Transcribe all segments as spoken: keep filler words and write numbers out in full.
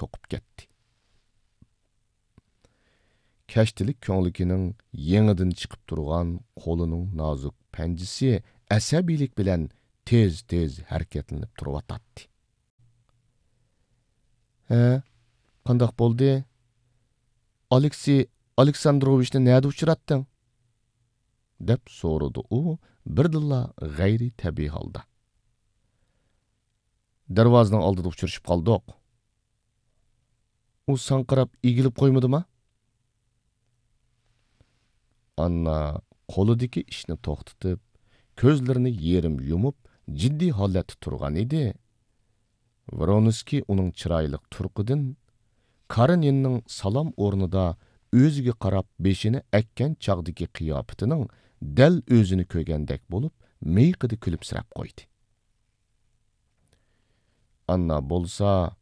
توقۇپ كەتتى. كەشتىلىك كۆڭلىكىنىڭ يېڭىدىن چىقىپ تۇرغان قولىنىڭ نازۇك پەنجىسى ئەسەبىيلىك بىلەن تېز-تېز ھەرىكەتلىنىپ تۇرۇۋاتاتتى. ھە، قانداق بولدى؟ ئالېكسىي ئالېكساندروۋىچنى نەدە ئۇچراتتىڭ؟ دەپ سورىدى ئۇ بىردىنلا غەيرىي تەبىئىي ھالدا. دەرۋازىنىڭ ئالدىدا ئۇچرىشىپ قالدۇق. ئۇ ساڭا قاراپ ئېگىلىپ قويمىدىما؟ ئاننا قولىدىكى ئىشنى توختىتىپ، كۆزلىرىنى يېرىم يۇمۇپ، جىددىي ھالەتتە تۇرغان ئىدى. ۋرونسكىي ئۇنىڭ چىرايلىق تۇرقىدىن، كارېنىننىڭ سالام ئورنىدا ئۆزىگە قاراپ بېشىنى ئەگكەن چاغدىكى قىياپىتىنىڭ دەل ئۆزىنى كۆرگەندەك بولۇپ، مىيىقىدا كۈلۈمسىرەپ قويدى. ئاننا بولسا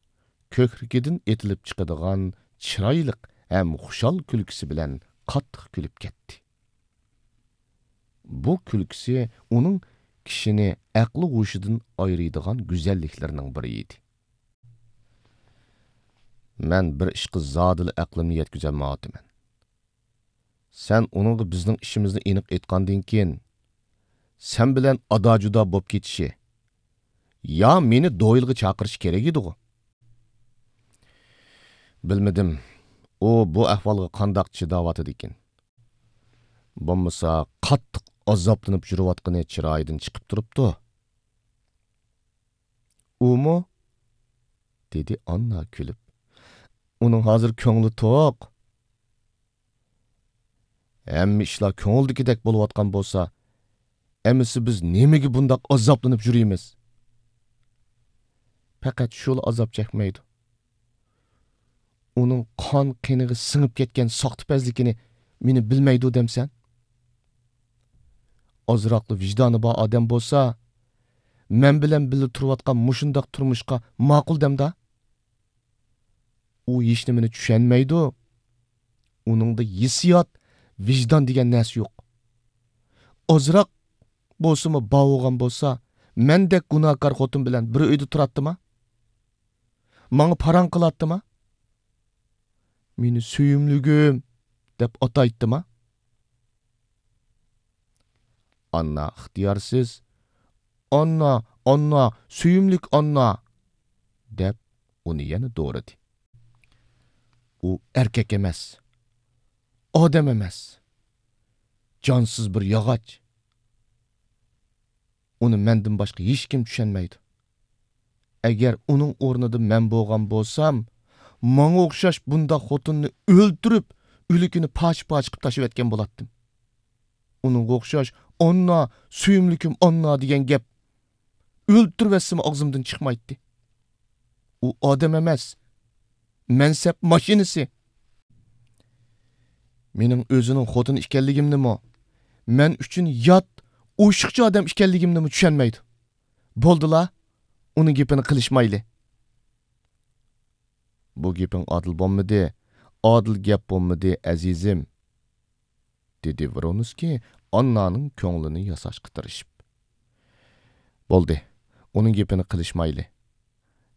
كۆكرىكىدىن ئېتىلىپ چىقىدىغان چىرايلىق ھەم خۇشال كۈلكىسى بىلەن قاتتىق كۈلۈپ كەتتى. بۇ كۈلكىسى ئۇنىڭ كىشىنى ئەقلى ھوشىدىن ئايرىيدىغان گۈزەللىكلىرىنىڭ بىرى ئىدى. مەن بىر ئىشقا زادىلا ئەقلىمنى يەتكۈزەلمەيۋاتىمەن. سەن ئۇنىڭغا بىزنىڭ ئىشىمىزنى ئېنىق ئېيتقاندىن كېيىن، سەن بىلەن ئادا-جۇدا بوپ كېتىشى، يا مېنى دويلغا چاقىرىشى كېرەك ئىدىغۇ؟ بىلمىدىم، ئۇ بۇ ئەھۋالغا قانداق چىداۋاتىدىكىن. بولمىسا، قاتتىق ئازابلىنىپ يۈرۈۋاتقىنى چىرايىدىن چىقىپ تۇرۇپتۇ. ئۇمۇ؟ دېدى ئاننا كۈلۈپ. ئۇنىڭ ھازىر كۆڭلى توق. ھەممە ئىشلار كۆڭۈلدىكىدەك بولۇۋاتقان بولسا، ئەمىسە بىز نېمىگە بۇنداق ئازابلىنىپ يۈرىمىز؟ پەقەت شۇلا ئازاب چەكمەيدۇ. ئۇنىڭ قان قېنىغا سىڭىپ كەتكەن ساختىپەزلىكىنى مېنى بىلمەيدۇ دەمسەن؟ ئازراقلا ۋىجدانى بار ئادەم بولسا، مەن بىلەن بىللە تۇرۇۋاتقان مۇشۇنداق تۇرمۇشقا ماقۇل دەمدا؟ ئۇ ھېچنېمىنى چۈشەنمەيدۇ. ئۇنىڭدا ھېسسىيات، ۋىجدان دېگەن نەرسە يوق. ئازراق بولسىمۇ بار بولغان بولسا، مەندەك گۇناھكار خوتۇن بىلەن بىر ئۆيدە تۇراتتىما؟ ماڭا پاراڭ قىلاتتىما؟ مېنى سۆيۈملۈكۈم دەپ ئاتايتتىما؟ ئاننا ئىختىيارسىز، «ئاننا، ئاننا، سۆيۈملۈك ئاننا!» دەپ ئۇنى يەنە دورىدى. ئۇ ئەركەك ئەمەس، ئادەم ئەمەس، جانسىز بىر ياغاچ. ئۇنى مەندىن باشقا ھېچكىم چۈشەنمەيدۇ. ئەگەر ئۇنىڭ ئورنىدا مەن بولغان بولسام، ماڭا ئوخشاش بۇنداق خوتۇننى ئۆلتۈرۈپ، ئۆلۈكىنى پارچە-پارچە قىلىپ تاشلىۋەتكەن بولاتتىم. ئۇنىڭغا ئوخشاش «ئاننا، سۆيۈملۈكۈم ئاننا» دېگەن گەپ ئۆلتۈرۈۋەتسىمۇ ئاغزىمدىن چىقمايتتى. ئۇ ئادەم ئەمەس، مەنسەپ ماشىنىسى. مېنىڭ ئۆزىنىڭ خوتۇنى ئىكەنلىكىمنىمۇ، مەن ئۈچۈن يات، ئوشۇقچە ئادەم ئىكەنلىكىمنىمۇ چۈشەنمەيدۇ. بولدىلا، ئۇنىڭ گېپىنى قىلىشمايلى. بۇ گېپىڭ ئادىل بولمىدى، ئادىل گەپ بولمىدى، ئەزىزىم، دېدى ۋرونسكىي ئاننانىڭ كۆڭلىنى ياساشقا تىرىشىپ. بولدى، ئۇنىڭ گېپىنى قىلىشمايلى.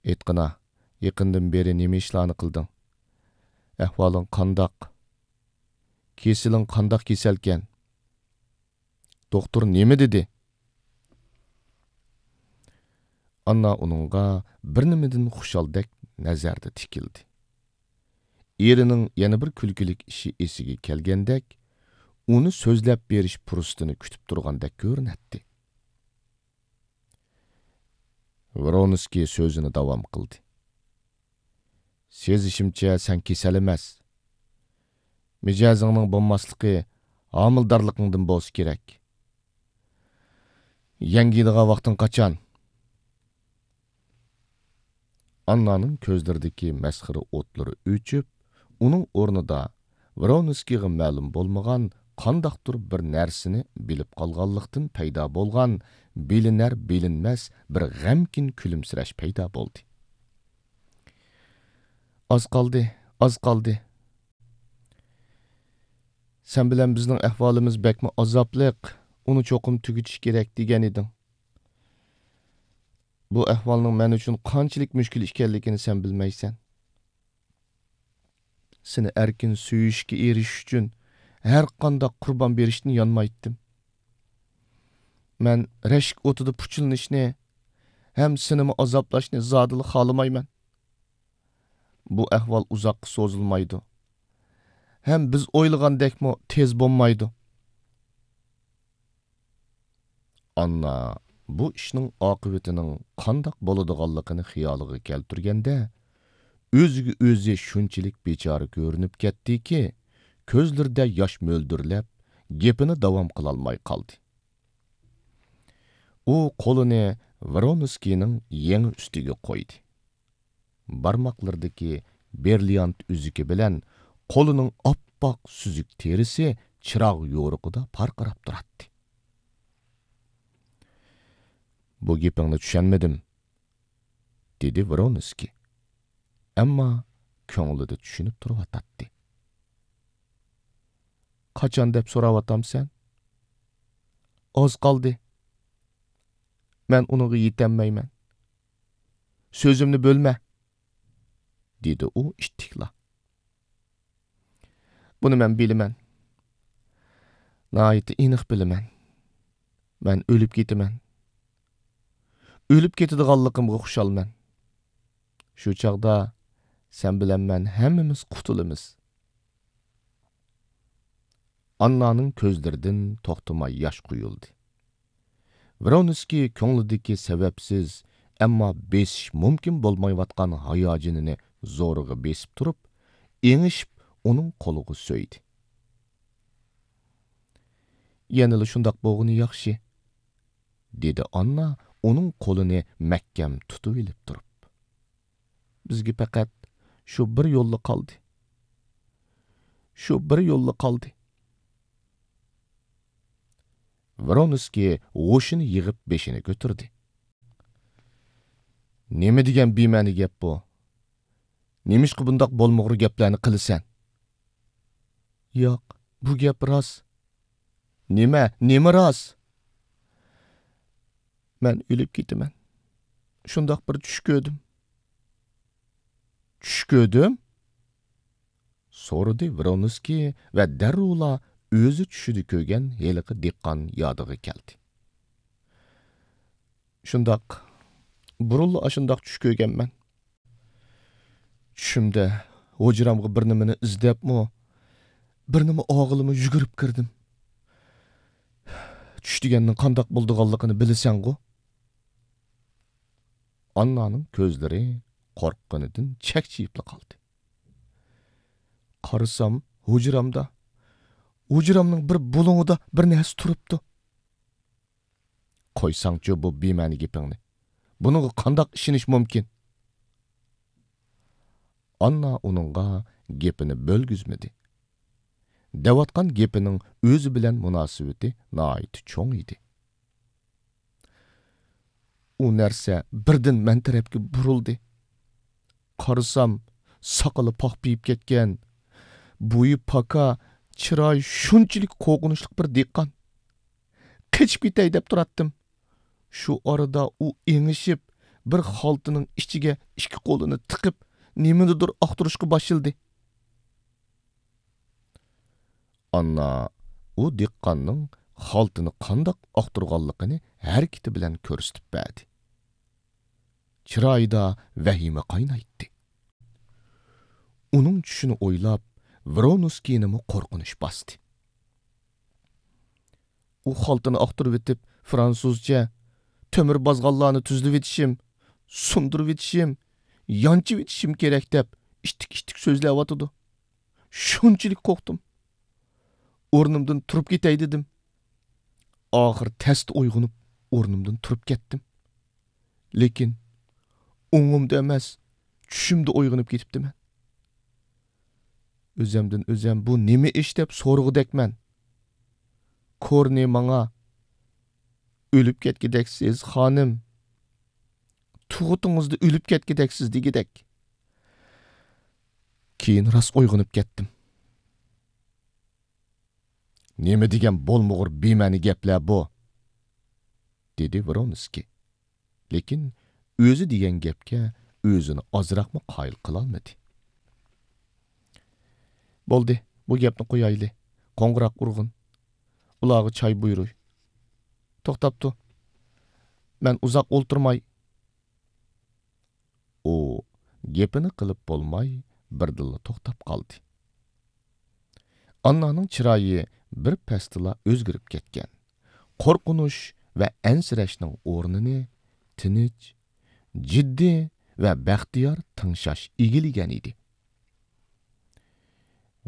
ئېيتقىنا، يېقىندىن بېرى نېمە ئىشلارنى قىلدىڭ؟ ئەھۋالىڭ قانداق؟ كېسىلىڭ قانداق كېسەلكەن؟ دوختۇر نېمە دېدى؟ ئاننا ئۇنىڭغا بىر نېمىدىن خۇشالدەك نەزەردە تىكىلدى. ئېرىنىڭ يەنە بىر كۈلكىلىك ئىشى ئېسىگە كەلگەندەك، ئۇنى سۆزلەپ بېرىش پۇرسىتىنى كۈتۈپ تۇرغاندەك كۆرۈنەتتى. ۋرونسكىي سۆزىنى داۋام قىلدى. سېزىشىمچە، سەن كېسەل ئەمەس. مىجەزىڭنىڭ بولماسلىقى ھامىلىدارلىقىڭدىن بولسا كېرەك. يەڭگىيدىغان ۋاقتىڭ قاچان؟ ئاننانىڭ كۆزلىرىدىكى مەسخىرە ئوتلىرى ئۆچۈپ، ئۇنىڭ ئورنىدا ۋرونسكىيغا مەلۇم بولمىغان قانداقتۇر بىر نەرسىنى بىلىپ قالغانلىقتىن پەيدا بولغان بىلىنەر-بىلىنمەس بىر غەمكىن كۈلۈمسىرەش پەيدا بولدى. ئاز قالدى، ئاز قالدى. سەن بىلەن بىزنىڭ ئەھۋالىمىز بەكمۇ ئازابلىق، ئۇنى چوقۇم تۈگىتىش كېرەك دېگەن ئىدىڭ. بۇ ئەھۋالنىڭ مەن ئۈچۈن قانچىلىك مۈشكۈل ئىكەنلىكىنى سەن بىلمەيسەن. سېنى ئەركىن سۆيۈشكە ئېرىشىش ئۈچۈن ھەر قانداق قۇربان بېرىشتىن يانمايتتىم. مەن رەشك ئوتىدا پۇچىلىنىشنى ھەم سېنىمۇ ئازابلاشنى زادىلا خالىمايمەن. بۇ ئەھۋال ئۇزاققا سوزۇلمايدۇ. ھەم بىز ئويلىغاندەكمۇ تېز بولمايدۇ. ئاننا بۇ ئىشنىڭ ئاقىۋىتىنىڭ قانداق بولىدىغانلىقىنى خىيالىغا كەلتۈرگەندە، ئۆزىگە ئۆزى شۇنچىلىك بىچارە كۆرۈنۈپ كەتتىكى، كۆزلىرىدە ياش مۆلدۈرلەپ، گېپىنى داۋام قىلالماي قالدى. ئۇ قولىنى ۋرونسكىينىڭ يېڭى ئۈستىگە قويدى. بارماقلىرىدىكى برىليانت ئۈزۈكى بىلەن قولىنىڭ ئاپئاق سۈزۈك تېرىسى چىراغ يورۇقىدا پارقىراپ تۇراتتى. «بۇ گېپىڭنى چۈشەنمىدىم»، دېدى ۋرونسكىي. ئەمما كۆڭلىدە چۈشىنىپ تۇرۇۋاتاتتى. «قاچان دەپ سوراۋاتامسەن؟ ئاز قالدى. مەن ئۇنىڭغا يېتەلمەيمەن. سۆزۈمنى بۆلمە»، دېدى ئۇ ئىتتىكلا. «بۇنى مەن بىلىمەن. ناھايىتى ئېنىق بىلىمەن. مەن ئۆلۈپ كېتىمەن. ئۆلۈپ كېتىدىغانلىقىمغا خۇشالمەن. شۇ چاغدا سەن بىلەن مەن ھەممىمىز قۇتۇلىمىز.» ئاننانىڭ كۆزلىرىدىن توختىماي ياش قۇيۇلدى. ۋرونسكىي كۆڭلىدىكى سەۋەبسىز، ئەمما بېسىش مۇمكىن بولمايۋاتقان ھاياجىنىنى زورىغا بېسىپ تۇرۇپ، ئېڭىشىپ ئۇنىڭ قولىغا سۆيدى. «يەنىلا شۇنداق بولغىنى ياخشى»، دېدى ئاننا ئۇنىڭ قولىنى مەھكەم تۇتۇۋېلىپ تۇرۇپ. «بىزگە پەقەت شۇ بىر يوللا قالدى. شۇ بىر يوللا قالدى.» ۋرونسكىي ھوشىنى يىغىپ بېشىنى كۆتۈردى. «نېمە دېگەن بىمەنە گەپ بۇ؟ نېمىشقا بۇنداق بولمىغۇر گەپلەرنى قىلىسەن؟» «ياق، بۇ گەپ راست.» «نېمە، نېمە راست؟» «مەن ئۆلۈپ كېتىمەن. شۇنداق بىر چۈش كۆردۈم.» «چۈش كۆردۈم؟» سورىدى ۋرونسكىي ۋە دەررۇلا ئۆزى چۈشىدە كۆرگەن ھېلىقى دېھقان يادىغا كەلدى. «شۇنداق، بۇرۇنلا ئاشۇنداق چۈش كۆرگەنمەن. چۈشۈمدە ھۇجرامغا بىر نېمىنى ئىزدەپمۇ، بىر نېمە ئالغىلىمۇ يۈگۈرۈپ كىردىم. چۈش دېگەننىڭ قانداق بولىدىغانلىقىنى بىلىسەنغۇ؟» ئاننانىڭ كۆزلىرى قورققىنىدىن چەكچىيىپلا قالدى. قارىسام، ھۇجرامدا، ھۇجرامنىڭ بىر بۇلۇڭىدا بىر نەرسە تۇرۇپتۇ. «قويساڭچۇ بۇ بىمەنە گېپىڭنى. بۇنىڭغا قانداق ئىشىنىش مۇمكىن؟» ئاننا ئۇنىڭغا گېپىنى بۆلگۈزمىدى. دەۋاتقان گېپىنىڭ ئۆزى بىلەن مۇناسىۋىتى ناھايىتى چوڭ ئىدى. ئۇ نەرسە بىردىن مەن تەرەپكە بۇرۇلدى. قارىسام، ساقىلى پاخپىيىپ كەتكەن، بويى پاكا، چىرايى شۇنچىلىك قورقۇنچلۇق بىر دېھقان. قېچىپ كېتەي دەپ تۇراتتىم. شۇ ئارىدا ئۇ ئېڭىشىپ، بىر خالتىنىڭ ئىچىگە ئىككى قولىنى تىقىپ، نېمىنىدۇر ئاختۇرۇشقا باشلىدى. ئاننا ئۇ دېھقاننىڭ خالتىنى قانداق ئاختۇرغانلىقىنى ھەرىكىتى بىلەن كۆرسىتىپ بەردى. چىرايىدا ۋەھىمە قاينايتتى. ئۇنىڭ چۈشىنى ئويلاپ، ۋرونسكىينىمۇ قورقۇنچ باستى. ئۇ خالتىنى ئاختۇرۇۋېتىپ، فرانسۇزچە، تۆمۈر بازغانلارنى تۈزلىۋېتىشىم، سۇندۇرۇۋېتىشىم، يانچىۋېتىشىم كېرەك دەپ ئىتتىك-ئىتتىك سۆزلەۋاتىدۇ. شۇنچىلىك قورقتۇم. ئورنۇمدىن تۇرۇپ كېتەي دېدىم. ئاخىر تەستە ئويغىنىپ، ئورنۇمدىن تۇرۇپ كەتتىم. لېكىن ئوڭۇمدا ئەمەس، چۈشۈمدە ئويغىنىپ كېتىپتىمەن. ئۆزەمدىن ئۆزەم بۇ نېمە ئىش دەپ سورىغۇدەكمەن. كورنى ماڭا، «ئۆلۈپ كەتكۈدەكسىز، خانىم. تۇغۇتىڭىزدا ئۆلۈپ كەتكۈدەكسىز» دېگۈدەك. كېيىن راست ئويغىنىپ كەتتىم. «نېمە دېگەن بولمىغۇر بىمەنە گەپلەر بۇ!» دېدى ۋرونسكىي. لېكىن ئۆزى دېگەن گەپكە ئۆزىنى ئازراقمۇ قايىل قىلالمىدى. بولدى، بۇ گەپنى قويايلى. قوڭغۇراق ئۇرغىن. ئۇلارغا چاي بۇيرۇي. توختاپتۇ. مەن ئۇزاق ئولتۇرماي. ئۇ گېپىنى قىلىپ بولماي، بىردىنلا توختاپ قالدى. ئاننانىڭ چىرايى بىر پەستىلا ئۆزگىرىپ كەتكەن. قورقۇنچ ۋە ئەنسىرەشنىڭ ئورنىنى تىنچ، جىددىي ۋە بەختىيار تىڭشاش ئىگىلىگەن ئىدى.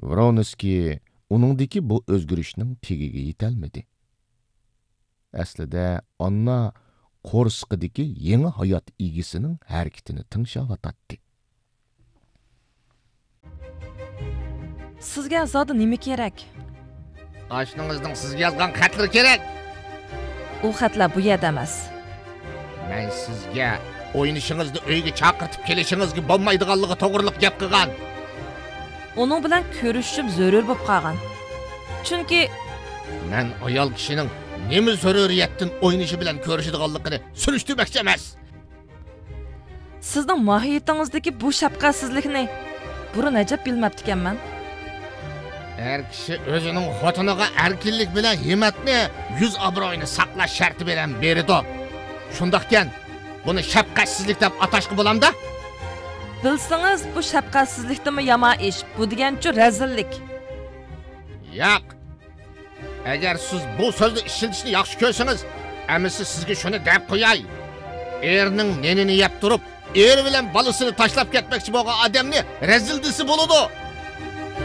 ۋرونسكىي ئۇنىڭدىكى بۇ ئۆزگىرىشنىڭ تېگىگە يېتەلمىدى. ئەسلىدە ئاننا قورسىقىدىكى يېڭى ھايات ئىگىسىنىڭ ھەرىكىتىنى تىڭشاۋاتاتتى. سىزگە زادى نېمە كېرەك؟ ئاشنىڭىزنىڭ سىزگە يازغان خەتلىرى كېرەك. ئۇ خەتلەر بۇ يەردە ئەمەس. مەن سىزگە ئوينىشىڭىزنى ئۆيگە چاقىرتىپ كېلىشىڭىزگە بولمايدىغانلىقى توغرىلىق گەپ قىلغان. ئۇنىڭ بىلەن كۆرۈشۈشۈم زۆرۈر بولۇپ قالغان. چۈنكى مەن ئايال كىشىنىڭ نېمە زۆرۈرىيەتتىن ئوينىشى بىلەن كۆرۈشىدىغانلىقىنى سۈرۈشتۈرمەكچى ئەمەس. سىزنىڭ ماھىيىتىڭىزدىكى بۇ شەپقەتسىزلىكنى بۇرۇن ئەجەب بىلمەپتىكەنمەن. ئەر كىشى ئۆزىنىڭ خوتۇنىغا ئەركىنلىك بىلەن ھىممەتنى، يۈز ئابرۇيىنى ساقلاش شەرتى بىلەن بېرىدۇ. شۇنداقكەن، بۇنى شەپقەتسىزلىك دەپ ئاتاشقا بولامدا؟ بىلسىڭىز، بۇ شەپقەتسىزلىكتىنمۇ يامان ئىش، بۇ دېگەنچۇ رەزىللىك. ياق. ئەگەر سىز بۇ سۆزنى ئىشلىتىشنى ياخشى كۆرسىڭىز، ئەمىسە سىزگە شۇنى دەپ قوياي. ئېرىنىڭ نېنىنى يەپ تۇرۇپ، ئېرى بىلەن بالىسىنى تاشلاپ كەتمەكچى بولغان ئادەمنى رەزىل دېسە بولىدۇ.